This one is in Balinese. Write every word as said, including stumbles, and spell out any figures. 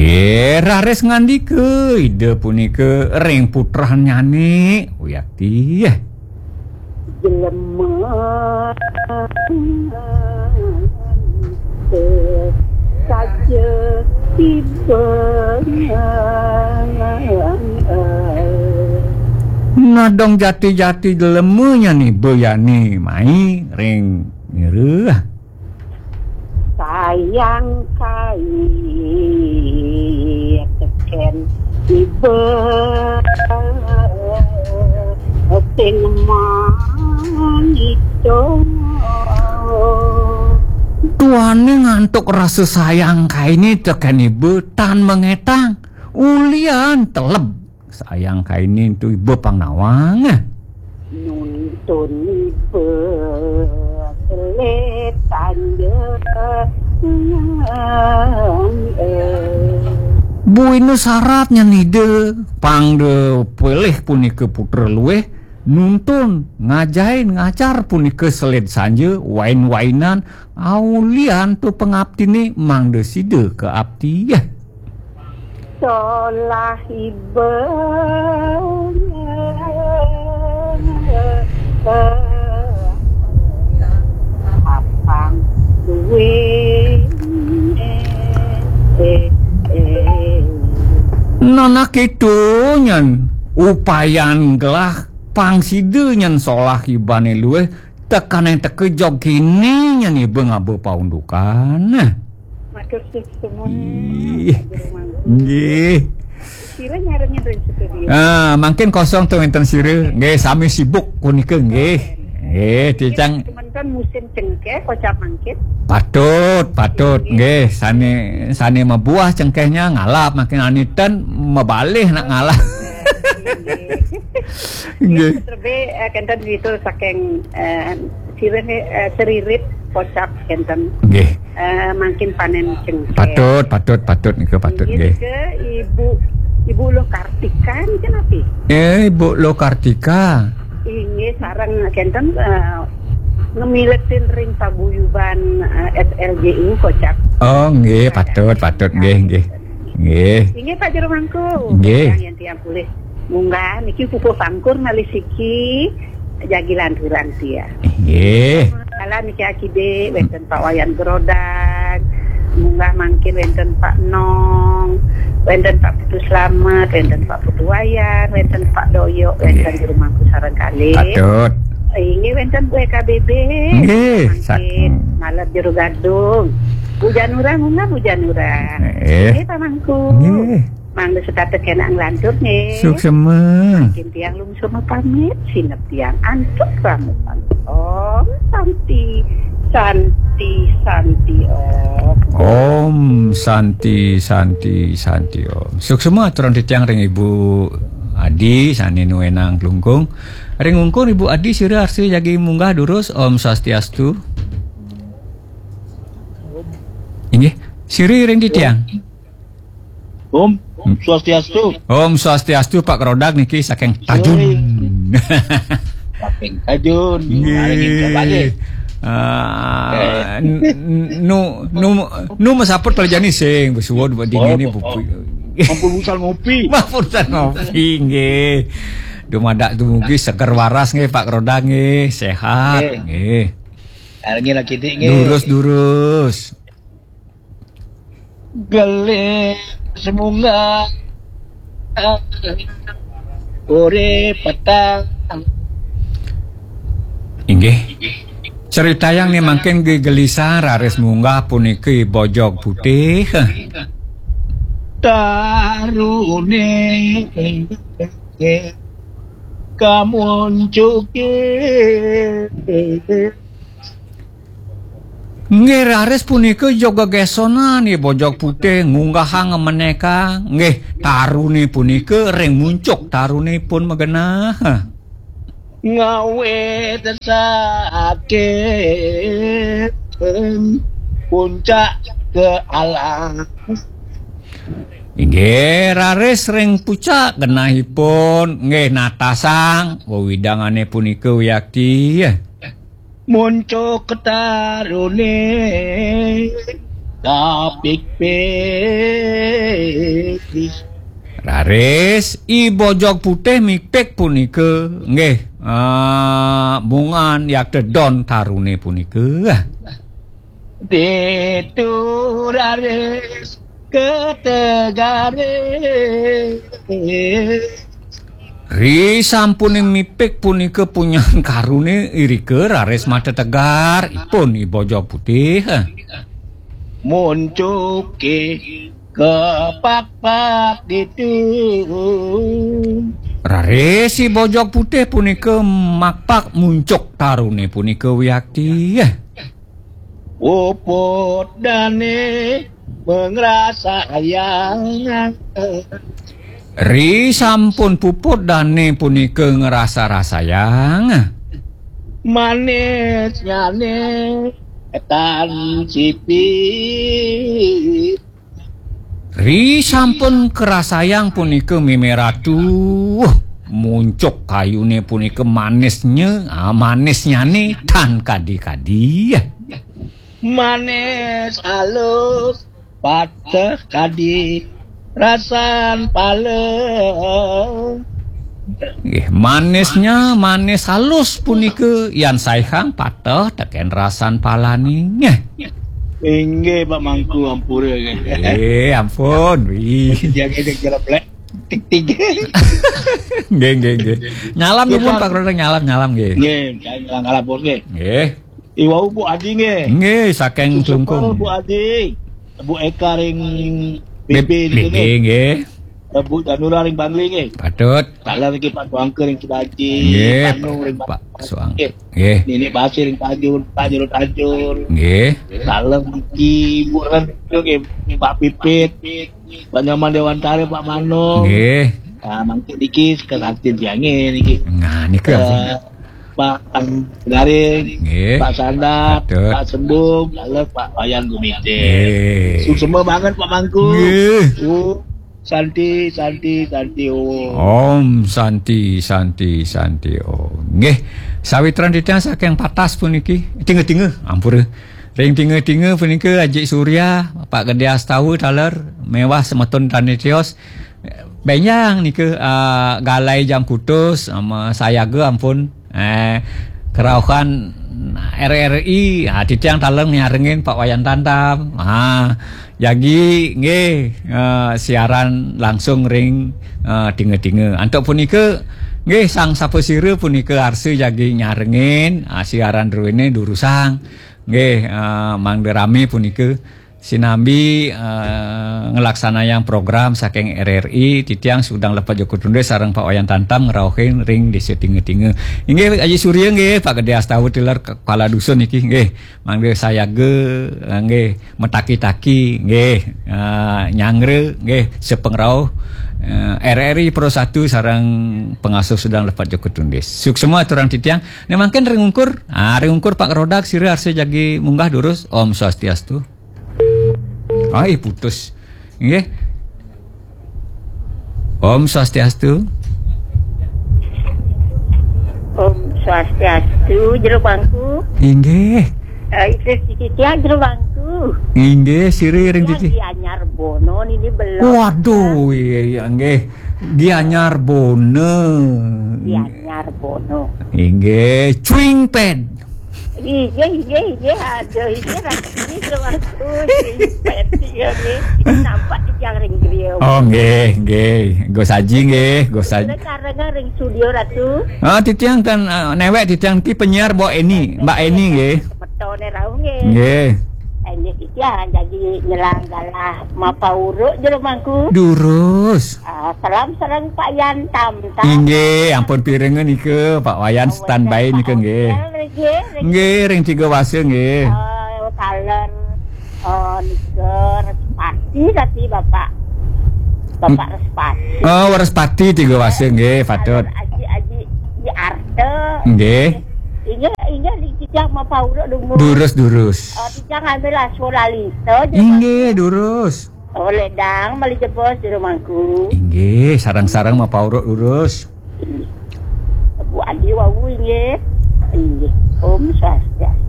Eh, raris ngandika Ida punika ring putrannyane, Wiakti. Jelema saja tiba. Nadong jati-jati jelema nyane Iba yani mai ring nira. Sayang kai teken Iba sing mangitung. Duaning antuk rasa sayang kaini teken Iba tan mangetang. Ulian teleb sayang kaini tu Iba pang nawang. Nuntun Iba selit tanja. Buina sarat nyen Ida, pang da pilih punika putra luih, nuntun, ngajain, ngajar punika selid sanja, wain-wainan, aulian tu pangaptine mangda sida kaapti. Solah Iba apang duwe. Nah, nah, kitu nyen upayan gelah pang sida nyen solah Ibane luih, tekaning teka jog kini nyen Iba ngaba paundukan. Matur suksma, Ih, Pak Jero Mangku. Nggih. Sira nyarengin ring studio. Ah, mangkin kosong tu wenten sira. Nggih, sami sibuk punika nggih. Nggih, titiang. Semeton musim cengkeh, kocap mangkin. Patut, patut. Nggih. Nggih, sane, sane mabuah cengkehnya ngalap, mangkin ane ten mabalih nak ngalap. Nggih. Nggih. Terlebih, eh, kenten itu saking, eh, sirih, eh, seririt kocap kenten. Nggih. Eh, mangkin panen cengkeh. Patut, patut, patut nika patut nggih, nggih. Nika Ibu, Ibu Loh Kartika nika napi? Eh, Ibu Loh Kartika. Inggih, sareng kenten, eh, ngemiletin ring paguyuban, eh, S L J U kocap. Oh, nggih, patut, patut nggih, nggih. Nggih. Inggih, Pak Jero Mangku. Nggih. Yang, yang tiang pulih. Munggah niki pupuh pangkur malih siki jagi lanturang tiang. Nggih. Kala niki akidik wenten Pak Wayan Gerodag, munggah mangkin wenten Pak Nong, wenten Pak Putu Slamet, wenten Pak Putu Wayan, wenten Pak Doyok, wenten Jero Mangku sareng kalih. Patut. Inggih wenten Bu E K B B. Nggih, mangkin sak- malem Jero Gadung. Bu Janura munggah Bu Janura. Eh. Nggih Pak Mangku. Nggih. Mangda setata kena nglantur nggih. Suksema. Mangkin tiang lungsur mapamit, sineb tiang antuk ramupan. Om Santi, Santi, Santi Om. Om Santi, Santi, Santi Om. Suksema aturan titiang ring Ibu Adi sane nuenang Klungkung. Ring Klungkung Ibu Adi sira arsa jagi munggah durus. Om Swastiastu. Inggih, sira ring titiang. Om Swastiastu. Om Swastiastu, Pak Gerodag niki saking Tajun. Saking Tajun. Nggih. Nggih. Ah, eh. N-, n-, nu, nu, nu masaput kala jani sing, besuwun buat dingin ni. Oh, oh. Ampun urusan ngopi. Ampun urusan ngopi, nggih. Dumadak dumugi seger waras nggih, Pak Gerodag nggih, sehat nggih. Nggih. Nggih. Lagi lagi dik nggih. Durus, durus. Gelih semunggah urip petang. Inggih. Critayang ni mangkin gegelisang raris munggah puniki Bojog Putih. Tarune kamuncuke. Nggih, raris punika jog gegesonan, nggih, Bojog Putih ngunggahang meneka, nggih, tarune punika ring muncuk tarune pun magenah. Ngawit saking puncak ke alas. Inggih, raris ring pucak genahipun, nggih, natasang wewidangane punika wiakti. Muncuk tarune kapikpik. Raris I Bojog Putih mipik punika nggih, ah, mungan yakti don tarune punika. Ditu raris kategare. Ri sampune mipik punika punyan karune irika raris matetegar ipun I Bojog Putih. Muncuke kapakpak ditu. Raris I Bojog Putih punika makpak muncuk tarune punika wiakti. Puput dane mangrasayang. Ri sampun puput dane punika ngrasa-rasayang. Manisnyane tan sipi. Ri sampun karasayang punika meme ratu. Muncuk kayune punika manisnya, ah, manisnyane tan kadi-kadi. Manis alus pateh kadi rasan pala. Nggih, manisnya manis halus punika yan saihang pateh teken rasan palane. Nggih. Inggih, Pak Mangku, ampura nggih. Eh, ampun. Wih. Jaga sing jeleblek. Tik, tik. Nggih, nggih, nggih. Nyalam nuwun, Pak Grodang, nyalam, nyalam nggih. Nggih, nyalam, nyalam, nggih. Nggih. Iwau Bu Adi nggih. Nggih, saking Suksma Klungkung. Bu Adi. Bu Eka ring B B B niki nggih. Nggih. Bu Danura ring Bangli nggih. Patut. Taler niki Pak Suangke ring Cibaji, nggih, Panu ring Pak Suang. Nggih. Nggih. Nini Basir ring Tajur, Tajur, Tajur. Nggih. Taler niki Bu Ren nggih, Pak Pipit. Pak Nyoman Dewantara, Pak Mano. Nggih. Ah, mangke niki sekerantin tiange niki. Nah, nika. Eh, Pak Garing, nggih. Pak Sandat, patut. Pak Sembung, taler Pak Wayan Gumite. Nggih. Suksma banget Pak Mangku. Nggih. Uh, Santi, Santi, Santi Om. Om Santi, Santi, Santi Om. Nggih, sawitran titiang saking Patas puniki, tinga-tinga, ampura. Ring tinga-tinga punika Aji Surya, Pak Gede Astawa taler, mewah semeton tani tios. Benjang nika, ah, Galai Jangkutus, sama Sayaga ampun. Eh, kerauhan R R I, ah, titiang taler nyarengin Pak Wayan Tantam. Ah, jagi nggih, eh, siaran langsung ring, eh, tinga-tinga. Antuk punika nggih sang sapasira punika arsa jagi nyarengin, ah, siaran druene durusang. Nggih, eh, mangda rame punika. Sinambi, eh, nglaksanayang program saking R R I, titiang Sugdang Lepet Joko Tundus sareng Pak Wayan Tantam ngrauhin ring Desa Tinga-Tinga. Inggih, Aji Surya nggih, Pak Gede Astawa tilar kepala dusun niki nggih, mangda sayaga, eh, nggih, metaki-taki nggih, eh, nyanggra nggih, sepengrauh, eh, R R I Pro satu sareng pengasuh Sugdang Lepet Joko Tundus. Suksma aturang titiang. Nek mangkin ring ungkur, ah, ring ungkur Pak Rodak sira arsa jagi munggah durus. Om Swastiastu. Ai, putus. Nggih. Om Swastiastu. Om Swastiastu, jero bangku. Inggih. Eh, itu titiang jero bangku. Inggih, sira ring titi. Gianyar Bono niki belum. Waduh, iya, iya, nggih. Gianyar Bono. Gianyar Bono. Inggih, cuing ped. Inggih, inggih, inggih. Aduh, inggih, rasane semangat. Inggih, ped, iya, nggih. Nampak titiang ring griya. Oh, nggih, nggih. Go saji, nggih, go saji. Karena ring studio, Ratu. Ah, titiang kan, ah, newek titiang ki penyiar Mbak Eni, Mbak Eni, nggih. Metone rauh, nggih. Nggih. Inggih, titiang jagi nyelang galah mapa uruk jero mangku. Durus. Ah, salam sareng Pak Yan Tam Tam. Inggih, ampun pirenga nika, Pak Wayan standby nika nggih. Nggih, ring tiga wasa nggih. Eh, taler, eh, nika Respati tadi Bapak. Bapak Respati. Oh, Respati tiga wasa nggih, patut. Aji, Aji, Aji Arta. Nggih. Inggih, inggih, ring titiang mapa uruk dungu. Durus, durus. Eh, titiang ngambil aswa lalita. Inggih, durus. Oleh dang, malih jebos di rumahku. Inggih, sareng-sareng mapauruk lurus. Inggih. Bu Adi wau inggih. Inggih. Om Swastiastu.